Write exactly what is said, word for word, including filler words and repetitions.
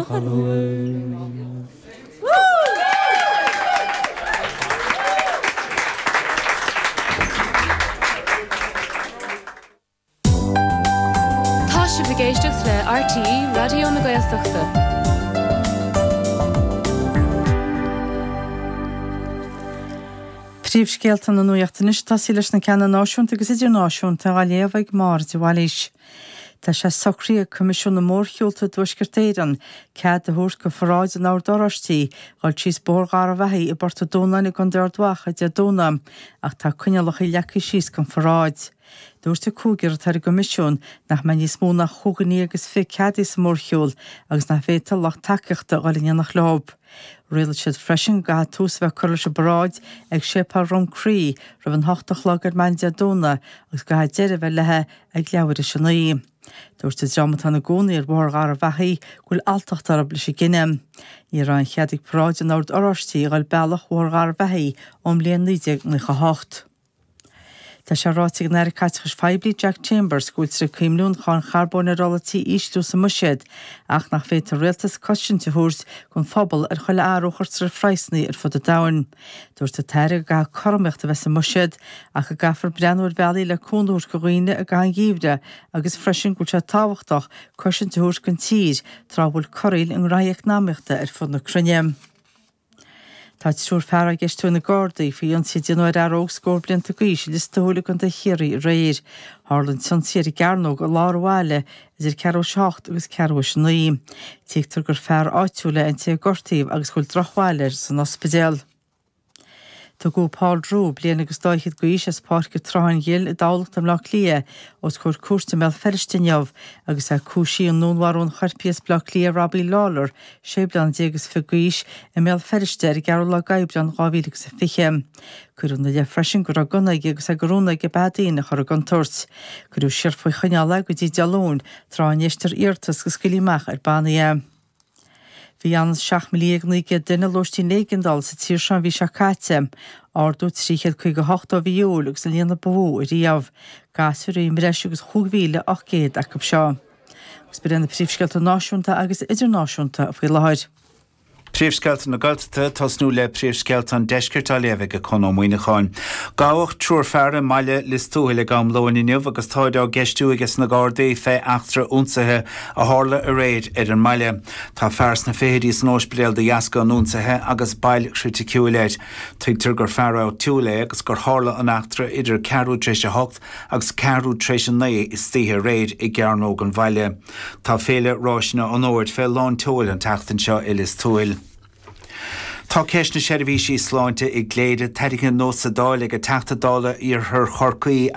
Chonabhair. Tá sibh ag éisteacht le RTÉ Raidió na Gaeltachta. Príomhscéalta na nuachta anois ag tosaí leis na ceanna náisiúnta agus idirnáisiúnta á léamh ag Máire de Bhailís. Tá sé socraithe ag Coimisiún na Mórshiúlta i dTuaisceart Éireann cead a thabhairt do pharáid an Oird Oráistigh dhul síos Bóthar Gharbhachaidh i bPort an Dúnáin i gContae Ard Mhacha Dé Domhnaigh ach tá coinníollacha leagtha síos don pharáid. Dúirt an cúigear atá ar an gcoimisiún nach mbeidh níos mó ná chúig dhuine déag agus fiche ceadaithe sa mhórshiúl agus nach bhféadfadh lucht tacaíochta dhul in éineacht leo. Rialaigh siad freisin go gcaithfidh tús a bheith curtha leis an bparáid ag Séipéal Dhrom Crí roimh an hocht a chlog ar maidin Dé Domhnaigh agus go gcaithfidh deireadh a bheith léi ag leathuair théis a naoi. Dúirt an dream atá ina gcónaí ar Bhóthar Gharbhachaidh go bhfuil alltacht orthu leis an gcinneadh. Ní raibh aon chead ag paráid an Oird Oráistigh a dhul bealach Bhóthar Gharbhachaidh ón mbliain naoi déag nócha a hocht. Tá sé ráite ag an Aire Caiteachais Phoiblí Jack Chambers go bhfuiltear ag cuimhniú an cháin charbóin ar ola tí a ísliú sa mbuiséad ach nach bhféadfaidh an rialtas cosaint a thabhairt don phobal ar chuile athrú a chuirtear ar phraghsanna ar fud an domhain. Dúirt an tAire go gcaithfidh cothromaíocht a bheith sa mbuiséad ach go gcaithfear breathnú ar bhealaí le cúnamh a thabhairt do dhaoine i gcaitheamh an gheimhridh agus freisin go bhfuil sé tábhachtach cosaint a thabhairt don tír tráth a bhfuil corraíl i ngraithí eacnamaíochta ar fud na cruinne. Tá triúr fear á gceistiú ag na Gardaí faoi ionsaí a déanadh ar fhear óg scór blianta d'aois i Lios Tuathail i gContae Chiarraí aréir. Tharla an t-ionsaí ar an gCearnóg i lár an bhaile idir ceathrú théis a hocht agus ceathrú théis a naoi. Tuigtear gur fear áitiúil é an té a gortaíodh agus go bhfuil drochbhail air san ospidéal. Tugadh Paul Drew, bliain agus dá fhichead d'aois, as Páirc an tSrutháin Ghil i dTamhlacht i mBleá Cliath, os comhair cúirte i mBéal Feirste inniu agus é cúisithe i ndúnmharú an choirpigh as Bleá Cliath, Robbie Lawlor, sé bliana déag is fiche d'aois, i mBéal Feirste ar an gceathrú lá d'Aibreán dhá mhíle agus a fiche. Cuireadh ina leith freisin go raibh gunna aige agus é de rún aige beatha daoine a chur i gcontúirt. Cuireadh siar faoi choinneáil é go dtí Dé Luain, tráth a n-éistfear iarratas go scaoilfí amach ar bannaí é. Bhí ionann is seacht míle dhéag naoi gcéad duine i lóistín éigeandála sa tír seo an mhí seo caite, ardú trí chéad caoga a hocht ó mhí Iúil agus an líon a ba mhó ariamh. Gasúir a bhí i mbreis agus chúig mhíle ocht gcéad acu seo. Agus b'in iad na príomhscéalta náisiúnta agus idirnáisiúnta faoi láthair. Príomhscéalta na Gaeltachta, tosnú le príomhscéalta an Deiscirt á léamh ag Conn Ó Muíneacháin. Gabhadh triúr fear i mbaile Lios Tuathail ag am lóin inniu agus táid á gceistiú aige na Gardaí fé eachtra ionsaithe a tharla aréir ar an mbaile. Tá fear sna fichidí san óispidéal de dheasca an ionsaithe agus bail chriticiúil air. Tuigtear gur fear áitiúil é agus gur tharla an eachtra idir ceathrú tar éis a hocht agus ceathrú tar éis a naoi istoíche aréir i gCearnóg an bhaile. Tá Féile Ráiseanna an Fhómhair fé lán tseoil an tseachtain seo i Lios Tuathail. Tá ceist na seirbhísí sláinte i gCléire tarraingthe anuas sa Dáil ag an Teachta Dála Iarthar Chorcaí,